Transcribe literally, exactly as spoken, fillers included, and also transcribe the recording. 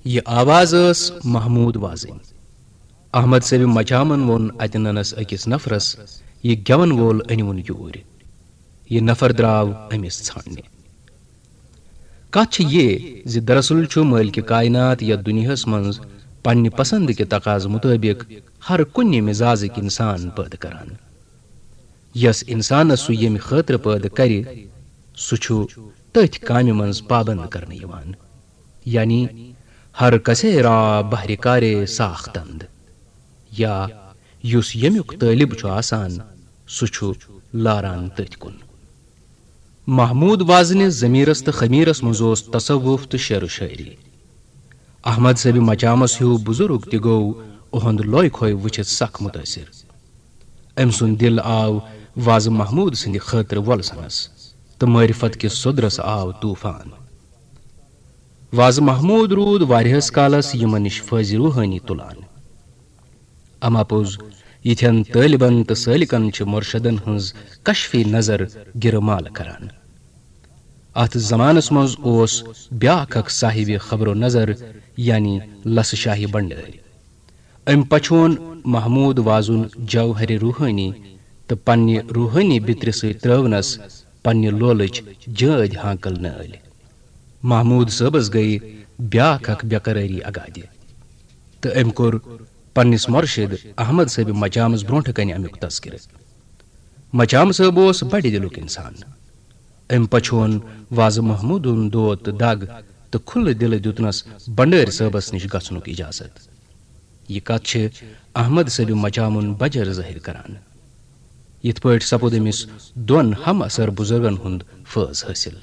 یہِ آواز ٲس محمود وازٕنۍ۔ احمد صٲبِ مچامن ووٚن اتہِ ننس أکِس نفرس، "یہِ گٮ۪ون وول أنِوُن یوٗرۍ۔" یہِ نفر درٛاو أمِس ژھانٛڈنہِ۔ کتھ چھِ یہِ زِ دراصل چھُ مٲلکِ کائنات یتھ دُنیاہس منٛز پننہِ پسند کہِ تقاضہٕ مُطٲبِق ہر کُنہِ مزازٕکۍ انسان پٲدٕ کران۔ یس انسانس سُہ ییٚمہِ خٲطرٕ پٲدٕ کرِ، سُہ چھُ تٔتھۍ کامہِ منٛز پابند کرنہٕ یِوان، یعنی ہر کسے را بہرِ کارِ ساختند، یا یُس ییٚمیُک طٲلب چھُ آسان، سُہ چھُ لاران تٔتھۍ کُن۔ محمود وازنہِ ضمیرس تہٕ خمیرس منٛز اوس تصوف تہٕ شعر و شٲعری۔ احمد صٲبِ مچامس ہیوٗ بزرگ تہِ گوٚو اُہُنٛد لوے کھوے وٕچھِتھ سخ مُتٲثر۔ أمۍ سُنٛد دِل آو وازٕ محمود سٕنٛدِ خٲطرٕ وۄلسنس تہٕ معرفت کِس سوٚدرس آو طوفان۔ وازٕ محمود روٗد واریاہس کالس یِمن نِش فٲضِ روحٲنی تُلان۔ اما پوٚز، یِتھٮ۪ن طٲلبن تہٕ سٲلِکن چھِ مرشدن ہٕنٛز کشفی نظر گِرٕ مال کران۔ اتھ زمانس منٛز اوس بیاکھ اکھ صاحبِ خبر و نظر، یعنی لسہٕ شاہی بنڈٲرۍ۔ أمۍ پچھون محمود وازُن جوہرِ روحٲنی تہٕ پننہِ روحٲنی بِترِ سۭتۍ ترٲونس پننہِ لولٕچ جٲدۍ ہانکل نٲلۍ۔ محمود صٲبس گٔیہِ بیاکھ اکھ بے قرٲری اگادِ، تہٕ أمۍ کوٚر پننِس مرشد احمد صٲبِ مچامس برونٛٹھٕ کنہِ امیُک تذکرٕ۔ مچام صٲب اوس بڑِ دِلُک انسان۔ أمۍ پچھون وازٕ محمودُن دود تہٕ دگ تہٕ کھُلہٕ دِلہٕ دیُتنس بنڈٲرۍ صٲبس نِش گژھنُک اجازت۔ یہِ کتھ چھِ احمد صٲبِ مچامُن بجر ظٲہِر کران۔ یِتھ پٲٹھۍ سپُد أمِس دۄن ہم عصر بزرگن ہُنٛد فٲض حٲصِل۔